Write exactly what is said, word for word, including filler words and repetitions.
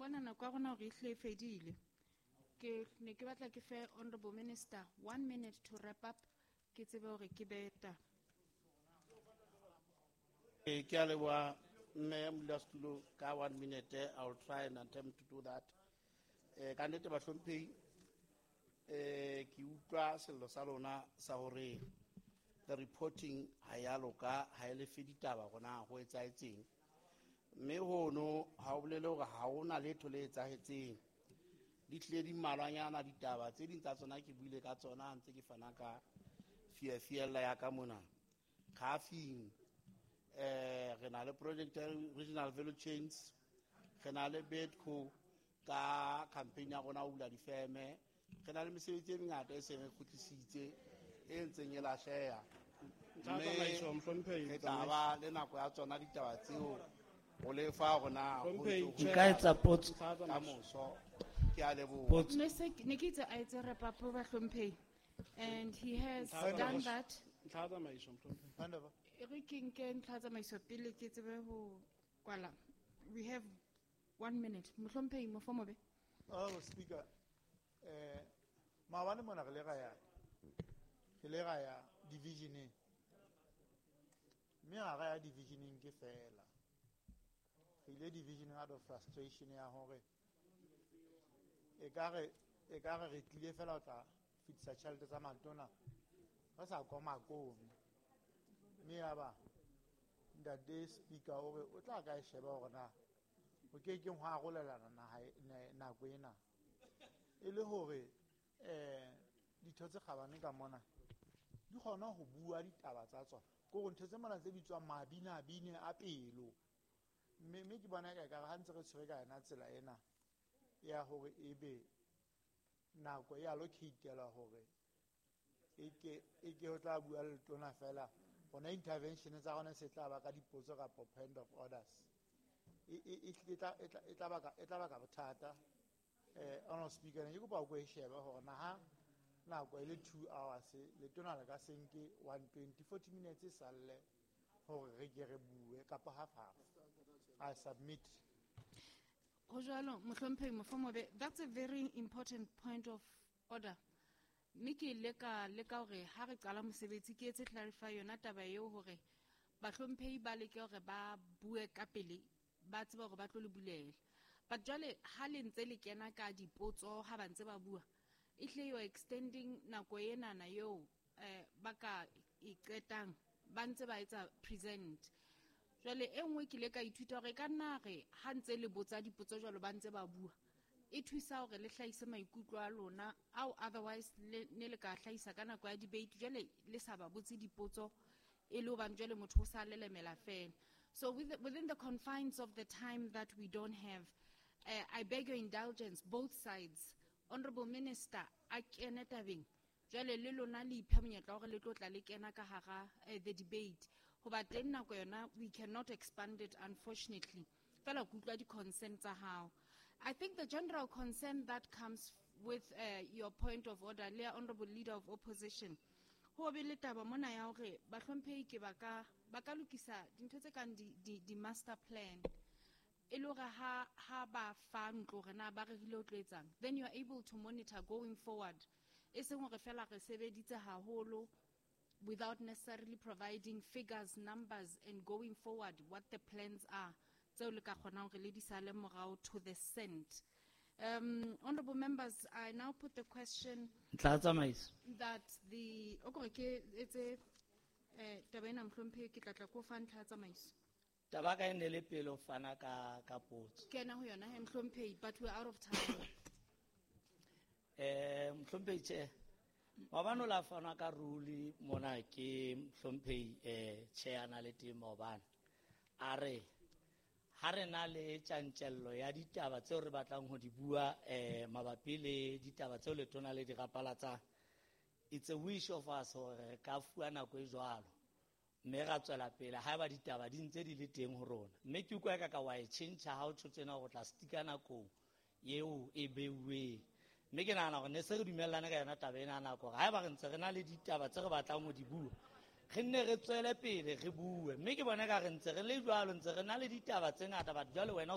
bona nako ya rona hore e hle e fedile. Ke ne ke batla ke fe Honorable Minister one minute to wrap up. Ke tsebe hore ke beta. Eh, ke a leboha mme modulasetulo ka one minute. I will try and attempt to do that. Eh, ka nnete bahlomphehi, eh, ke utlwa sello sa lona sa hore the reporting ha ya loka, ha e lefe ditaba hore na ho etsahetseng. Mme hono ha o bolele hore ha hona letho le etsahetseng. Di tlile di mmalwanyana ditaba, tse ding tsa tsona ke buile ka tsona ha ntse ke fana ka fiafiella ya ka mona. Khafing, eh, re na le project ya regional value chains, re na le Bedco ka campaign ya rona ho bula difeme, re na le mesebetsi e mengata e seng re kgutlisitse, e ntseng e lahleha. Ntlha ya tsamaiso, mohlomphehi, Mme re tla ba le nako ya tsona ditaba tseo ho lefa hore na ho Mohlomphehi, ntse ho Chair. Nka etsa potso. Ntlha ya ka tsamaiso. moso. Ke a leboha. Potso. Ne se ne ke itse a etse wrap up bahlomphehi, and he has Ntlha ya done tsamaiso. that. Ntlha ya tsamaiso, mohlomphehi. Hand over. E re ke nke ntlha ya tsamaiso pele ke tsebe ho kwala. We have one minute. Mohlomphehi Mofomobe. Honorable Speaker, eh, maobane mona re le ra ya, re le ra ya divisioneng. Mme ha ra ya divisioneng ke fela. Re ile divisioneng out of frustration ya hore ekare, ekare re tlile fela ho tla fetisa tjhelete tsa matona, re sa koma kome. Mme ya ba ntate Speaker o re o tla ka e sheba hore na ho ke keng hwa arolelana naha e, ne, nako ena. E le hore, eh, ditho tse kgabane ka mona di kgona ho bua ditaba tsa tsona. Ke hore ntho tse mona tse bitswang mabinabine a pelo. Mme, mme ke bona eka ekare ha ntse re tshwere ka yona tsela ena ya hore ebe nako e allocate-elwa hore e ke, e ke ho tla bua le letona fela, hona intervention tsa rona se tla ba ka dipotso kapa point of orders. E, e, e, e tla, e tla, e tla baka, e tla baka bothata. Eh, Honorable Speaker, ne ke kopa o ko e shebe hore na ha nako e le two hours, letona le ka se nke one twenty, forty minutes e salle hore re ke re bue kapa half half. I submit. Ho jwalo, Mohlomphehi Mofomobe, that's a very important point of order. Mme ke ile ka leka hore ha re qala mosebetsi ke etse clarify yona taba eo hore bahlomphehi ba leke hore ba bue ka pele, ba tsebe hore ba tlo le bulela. But jwale ha le ntse le kena ka dipotso ha ba ntse ba bua, ehlile you are extending nako enana eo, eh, ba ka e qetang ba ntse ba etsa present. Jwale e nngwe ke ile ka ithuta hore e ka nna re ha ntse le botsa dipotso jwalo ba ntse ba bua, e thusa hore le hlahise maikutlo a lona ao otherwise le ne le ka hlahisa ka nako ya debate, jwale le sa ba botse dipotso e le hobane jwale motho o sa lelemela fela. So with the, within the confines of the time that we don't have, uh, I beg your indulgence, both sides. Honorable Minister, a kene tabeng. Jwale le lona le iphe monyetla wa hore le tlo tla le kena ka hara, eh, the debate. Hoba teng nako yona, we cannot expand it, unfortunately. Fela ke utlwa di-concern tsa hao. I think the general concern that comes with, uh, your point of order, le ya Honorable Leader of Opposition, ho be le taba mona ya hore bahlomphehi ke ba ka, ba ka lokisa dintho tse kang di, di, di master plan. E le hore ha, ha ba fa ntlo hore na ba rerile ho tlo etsang, then you are able to monitor going forward. E seng hore fela re sebeditse haholo without necessarily providing figures, numbers, and going forward what the plans are. Tseo le ka kgonang hore le di sale morao to the cent. Um, honorable members, I now put the question Ntlha ya tsamaiso. that the, o kore ke etse, eh, taba ena mohlomphehi, ke tla tla ko fa ntlha ya tsamaiso. Taba ka e ne le pele ho fana ka, ka potso. Ke ena ho yona he, mohlomphehi, but we're out of time. Eh, mohlomphehi, tjhe, maobane o la fanwa ka rule mona ke mohlomphehi, eh, tjhe a na le teng maobane. A re, ha re na le tjantjello ya ditaba tseo re batlang ho di bua, eh, mabapi le ditaba tseo letona le di rapalatsang, it's a wish of us hore re ka fuwa nako e jwalo. Mme ra tswela pele haeba ditaba di ntse di le teng ho rona. Mme ke utlwa eka ka wa e tjhentjha ha o tjho tjena hore o tla stika nakong eo e beuweng. Mme ke nahana hore ne se re dumellane ka yona taba ena ya nako hore haeba re ntse re na le ditaba tse re batlang ho di bua, re nne re tswele pele re bue. Mme ke bona eka re ntse re le jwalo, ntse re na le ditaba tse ngata, but jwale wena o so